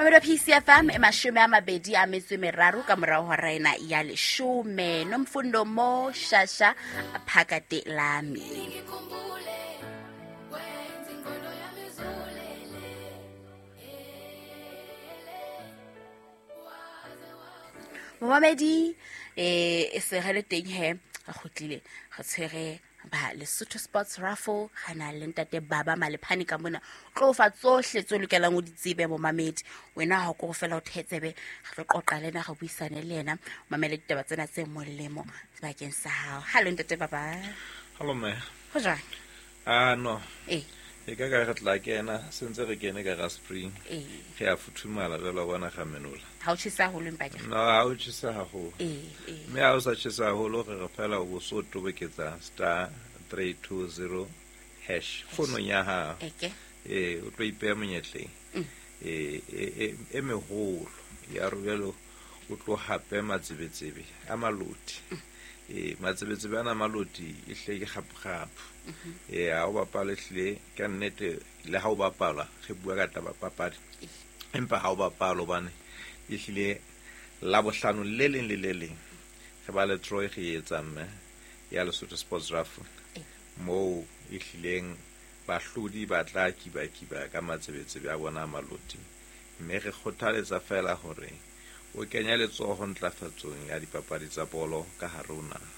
Mamedi wa PCFM e 23 ka morao hora ena ya 10. Nomfundo Mo Shasha Phakate Lami. Momamedi e se re le teng he, re kgutlile re tshwere ba Lesotho Sports Raffle, ga na le ntate Baba Malephane ka mona. Tlo fa tsohle tse lokelang o di tsebe momamedi. Wena ha o ko fela o thetsebe, re tlo qoqa le ena, re buisane le yena, mamele ditaba tsena tse molemo sebakeng sa hao. Hallo ntate Baba. Hallo mme. Ho jwang? Ah no. E ka ka re tla kena, sentse re kene ka ga spring. Re a futhumala jwalo wa bona ga menola. Ha o tjhesa haholo empa ke. No, ha o tjhesa haholo. Mme ha o sa tjhesa haholo re re fela o so toboketsa star 320 hash founong ya hao. Eke. O tlo ipeha monyetleng. E meholo ya re jwalo o tlo hape matsebetsebe a maloti. Matsebetsebe ana maloti e hle ke kgapo-kgapo. Ha o bapale hlile ka nnete, le ha o bapala re bua ka taba papadi. Empa ha o bapala hobane e hlile la bohlano le leng le le leng re ba le Troy re etsa mme ya Lesotho Sports Raffle. Moo e hlileng bahlodi ba tla kiba-kiba ka matsebetsebe a bona a maloti. Mme re kgothaletsa fela hore o kenya letsoho ntlafatsong ya dipapadi tsa bolo ka hare ho naha.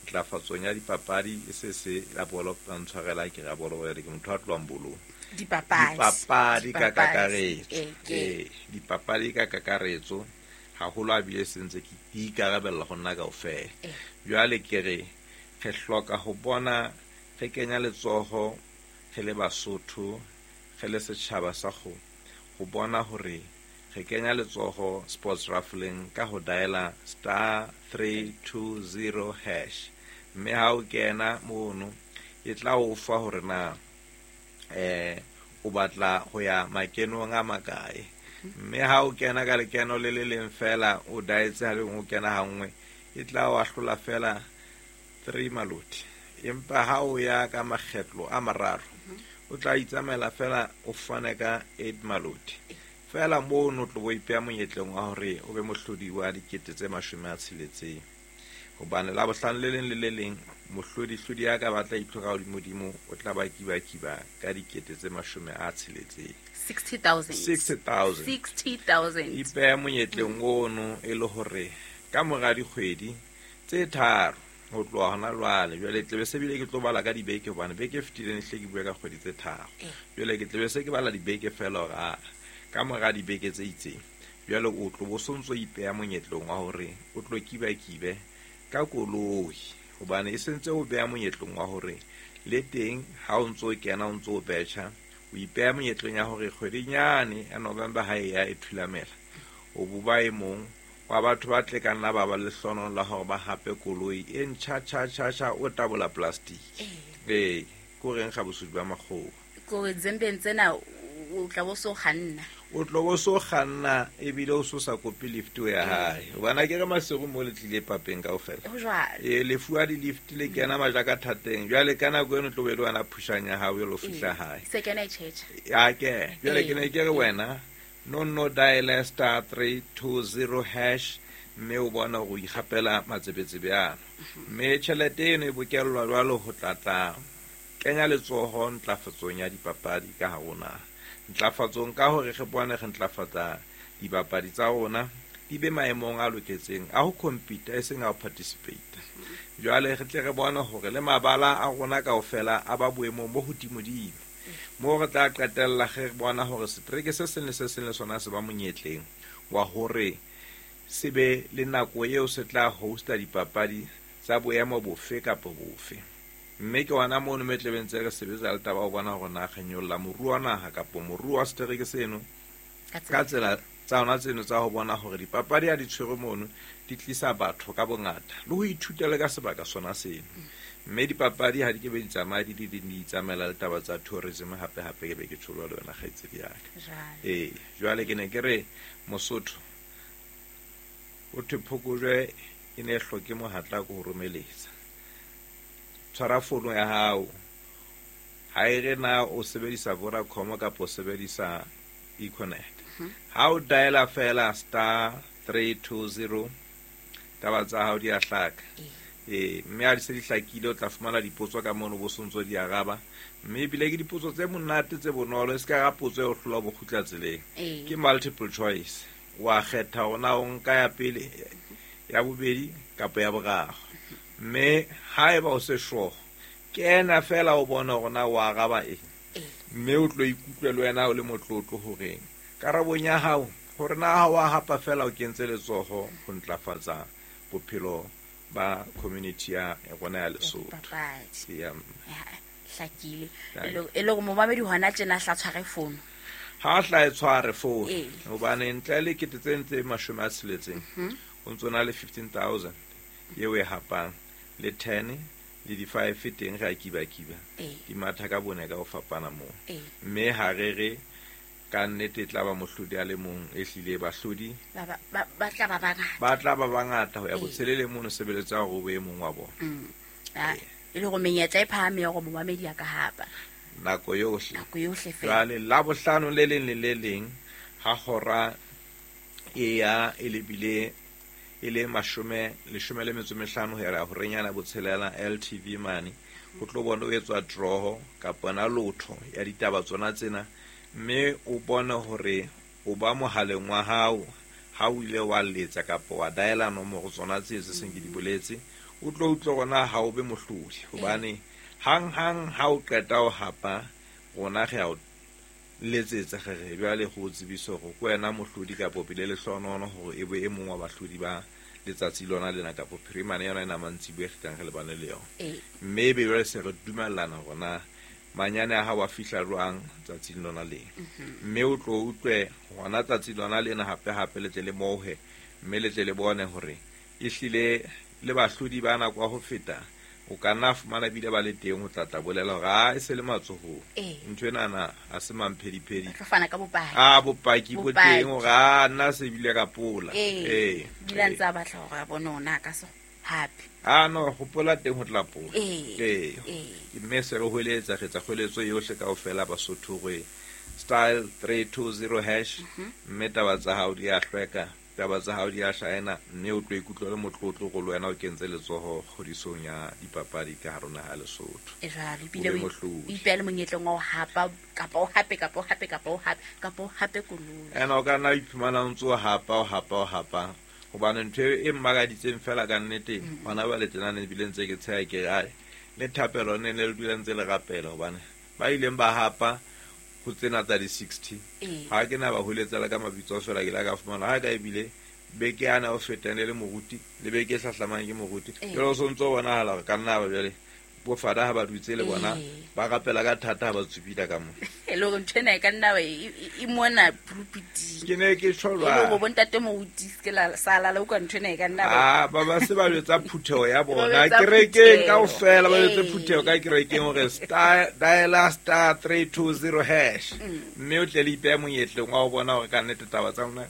Ntlafatsong ya dipapadi e se se la bolo, ba ntshwarela ke ra bolo, ke motho a tlohang bolong. Dipapadi. Dipapadi ka Dipapadi. kakaretso. Ke. Dipapadi ka kakaretso haholo a bile se ntse ke ikarabella ho nna kaofela. Jwale ke re re hloka ho bona re kenya letsoho re le Basotho, re le setjhaba sa ho bona hore re kenya letsoho sports raffling ka ho diala star 320 hash. Mme ha o kena mono e tla o fa hore na o batla ho ya makenong a makae. Mme ha o kena ka lekeno le le leng fela o dietse ha le o kena ha nngwe e tla o ahlola fela 3 maloti. Empa ha o ya ka makgetlo a mararo o tla itsamaela fela o fane ka 8 maloti. Fela mono tlo bo ipeha monyetleng wa hore o be mohlodi wa dikete tse 60. Hobane la bohlano le leng le le leng mohlodi-hlodi ya ka batla itlhoka hodimo-dimo o tla ba kiba-kiba ka dikete tse 60. 60,000. 60,000. 60,000. Ipeha monyetleng ono e le hore ka mora dikgwedi tse 3 ho tloha hona jwale, jwale tlebe se bile ke tlo bala ka dibeke hobane beke e fetileng hle ke bua ka kgwedi tse 3. Jwale ke tlebe se ke bala dibeke fela hore a ka mora dibeke tse itseng jwale o tlo bo sontso ipeha monyetleng wa hore o tlo kiba-kibe ka koloi, hobane e sentse o beha monyetleng wa hore le teng ha o ntso kena o ntso betjha o ipeha monyetleng ya hore kgwedinyane ya November ha e ya e thulamela o bo ba e mong wa batho ba tle ka nna ba ba lehlono la hore ba hape koloi e ntjha tjha tjha tjha o tabola plastic. Ko reng ga bosodi ba makgowa? Ko re dzembeng tsena o tla bo so kganna. O tlo bo so kganna ebile o so sa kope lift o ya hae. Hobane ke re Maseru mo le tlile papeng kaofela. Ho jwalo. Le fuwa di-lift le kena majaka thateng. Jwale ka nako eno tlo be le wena phushang ya hao e lo fihla hae. Se kena e tjhetjha. Ya ke. Jwale ke ne ke re wena no no dial star 320 hash mme o bona hore o ikgapela matsebetsebe ana. Mme tjhelete eno e bokellwa jwalo ho tla tla kenya letsoho ntlafatsong ya dipapadi ka hare ho naha. Ntlafatsong ka hore re bone re ntlafatsa dibapadi tsa rona di be maemong a loketseng a ho compete e seng a ho participate. Jwale re tle re bone hore le mabala a rona kaofela a ba boemong bo hodimodimo. Moo re tla qetella re bona hore setereke se seng le se seng le sona se ba monyetleng wa hore se be le nako eo se tla hosta dipapadi tsa boemo bofe kapa bofe. Mme ke hona mono me tlebeng tse re sebetsa le taba ho bona hore na re nyolla moruo wa naha kapa moruo wa setereke seno ka tsela tsa hona tseno tsa ho bona hore dipapadi ha di tshwerwe mono di tlisa batho ka bongata le ho ithuta le ka sebaka sona seno. Mme dipapadi ha di ke be di tsamaye di di di itsamaela le taba tsa tourism hape hape ke be ke tjho le wena kgaitsedi ya ka. Jwale ke ne ke re Mosotho o thwe phokojwe e ne e hloke mohatla ko ho romeletsa. Tshwara fono ya hao. Ha e re na o sebedisa Vodacom kapa o sebedisa Econet. Ha o diala fela star 320, taba tsa hao di a hlaka. Mme ha di se di hlakile, o tla fumana dipotso ka mono, bo sontso di araba. Mme ebile ke dipotso tse monate, tse bonolo, e se ka ra potso e o hlola bo kgutla tseleng. Ke multiple choice, wa kgetha hore na o nka ya pele, ya bobedi kapa ya boraro. Mme haeba o se sure, kena fela o bone hore na o araba eng. Mme o tlo ikutlwe le wena o le motlotlo hore karabong ya hao, hore na ha wa hapa fela, o kentse letsoho ho ntlafatsa bophelo ba community ya rona ya Lesotho. Dipapadi. Ya. Ya, hlakile. E le hore momamedi hona tjena hla tshware fono. Ha hla e tshware fono, hobane ntle le 3 600, o ntso na le 15 000 eo e hapang, le 10 le di-5 teng, re a kiba-kiba. Di matha ka bone ka ho fapana moo. Mme ha re re ka nnete e tla ba mohlodi a le mong, e hlile bahlodi Ba tla ba bangata. Ba tla ba bangata ho ya botshelele mono, sebeletsa hore o be e mong wa bona. E le hore menyetla e phahame ya hore momamedi a ka hapa. Nako yohle. Nako yohle fela. Jwale Labohlano le leng le le leng ha hora e ya e lebile e le 15 ho ya horenyana botshelela, LTV mane o tlo bona o etswa draw kapa na lotho ya ditaba tsona tsena, mme o bone hore o ba mohaleng wa hao ha o ile wa letsa kapa wa diala nomoro tsona tse seng ke di boletse, o tlo utlwe rona ha o be mohlodi, hobane hang hang ha o qeta ho hapa, rona re a o letsetsa, re re jwale go o tsebise hore ke wena mohlodi kapa o bile lehlohonono hore e be e mong wa bahlodi ba letsatsi lona lena kapa phirimane yona ena mantsiboya e kgitlang re lebane le yona. Mme ebe jwale se re dumellana hore na manyane a hao a fihla jwang tsatsing lona lena, mme o tlo utlwe hona tsatsi lona lena hape hape le tle le mohe, mme le tle le bone hore ehlile le bahlodi ba nako ya ho feta o ka nna fumana bile ba le teng ho tla tla bolela hore a e se le matsohong. Ntho enana ha se mamphediphedi. Ba tlo fana ka bopaki. A bopaki bo Bopaki. teng hore a nna se bile ka pola. Bile a ntse a batla hore a bone hore na a ka se hape. A no hopola teng ho tla pola. Mme se re hweletsa, re etsa kgweletso yohle kaofela Basotho hore star 320 hash, mme taba tsa hao di a hlweka, taba tsa hao di a hlaena, mme o tlo ikutlwa le motlotlo go le wena o kentse letsoho kgodisong ya dipapadi ka hare ho naha ya Lesotho. E jwalo, ebile O be o mohlodi. o ipeha le monyetleng wa ho hapa, kapa o hape, kapa o hape, kapa o hape, kapa o hape koloi. Ene o ka nna o iphumana o ntse o hapa, o hapa, o hapa, hobane ntho e mmakaditseng fela ka nnete hona jwale tjena, ne ebile ntse ke tsheha, ke re ai le thapelo ne ne le dula ntse le rapela, hobane ba ileng ba hapa ho tsena tsa di-60, ha ke na ba holetsa le ka mabitso fela, ke la ka fumana ha ka ebile beke ana o fetang le le moruti, le beke e hlahlamang ke moruti. Jwale o sontso o bonahala hore ka nna ba jwale bo fada ha ba dutse le bona, ba rapela ka thata ha ba tsupila ka moo. E le hore ntho ena e ka nna ba e mona pulpiting. Ke ne ke tjho E le hore jwalo. bontate moruti se ke la sa lala, utlwa ntho ena e ka nna ba Ah, ba ba se ba jwetsa phutheho ya Ba bona jwetsa kerekeng phutheho. kaofela, ba jwetse phutheho ka kerekeng hore star diala star 320 hash, mme o tle le ipeha monyetleng wa ho bona hore ka nnete taba tsa lona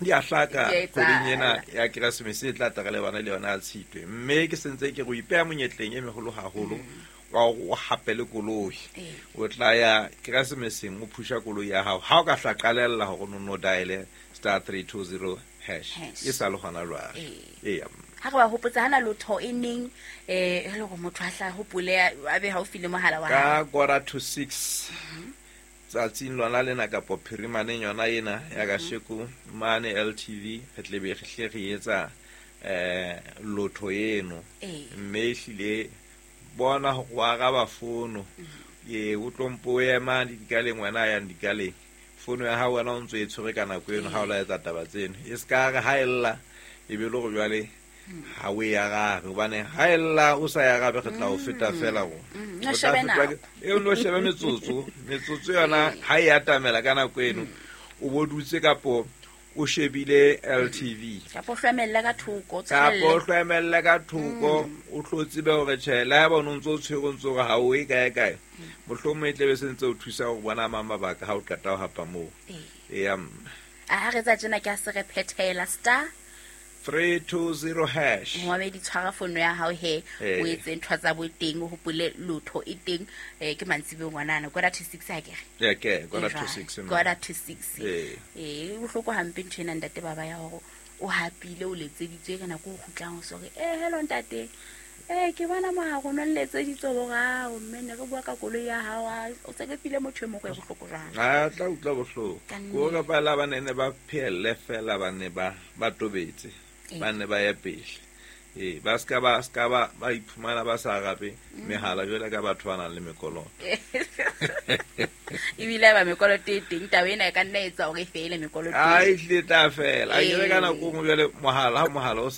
di a hlaka Di a kgweding ena etsahala. ya Keresemese e tla tla re lebana le yona ya Tshitwe. Mme ke sentse ke re o ipeha monyetleng e meholo haholo wa hore o hape le koloi. O tla ya Keresemeseng o phusha koloi ya hao ha o ka hla qalella hore o no diale star 320 hash. Hash. E sa le hona jwale. Eya. Ha re ba hopotsa hana lotho e neng, e le hore motho a hla hopole, a be haufi le mohala wa hae. Ka 5:45 tsatsing lona lena kapo phirimaneng yona ena ya kasheko mane LTV, re tle be re hle re etsa lotho eno. Mme ehlile bona hore wa araba fono, o tlo mpo o ema le dikaleng, wena a yang dikaleng, fono ya hao wena o ntso e tshwere ka nako eno ha o la etsa taba tseno, e se ka re ha e lla e be le hore jwale ha o e arabe, hobane ha e lla o sa e arabe re tla o feta fela rona. No O tla shebe fetwa nako. E o no shebe metsotso, metsotso yona ha e atamela ka nako eno o bo dutse kapo o shebile LTV. Kapa o hlwemelle ka thoko, o Kapa o tswelle. hlwemelle ka thoko, o tlo tsebe hore tjhe, le haeba o no ntso o tshwere, o ntso hore ha o ye kae kae, mohlomong e tlebe se ntse o thusa ho bona mang mabaka ha o qeta ho hapa moo. Eya, mme. A ha re tsa tjena ke a se re phethela star 320 hash. Momamedi, tshwara fono ya hao he, Ee. o etse ntho tsa boteng, o hopole lotho e teng, ke mantsiboeng ngwanana, 5:45 akere? Ya ke 5:45. 5:45. Ee. Ee, e bohloko hampe ntho ena, ntate Baba, ya hore o hapile, o letseditswe ka nako o kgutlang, o sore e hello ntate, ee ke bona mogare o no nletseditswe borao, mme ne re bua ka koloi ya hao, o se ke file motho e mongwe, e bohloko jwang? A tla utlwa bohloko. Ka nnete. Ko ka pala ba ne ba phehelle fela, ba ne ba tobetse, ba ne ba ye pele. Ee, ba ska ba iphumana ba sa arabe mehala jwale ka batho ba nang le mekoloto. Ebile ba mekoloto e teng, taba ena e ka nna etsa hore e fele mekoloto. A e hlile tla fela. A ke re ka Ee. nako e nngwe jwale mohala, ha mohala o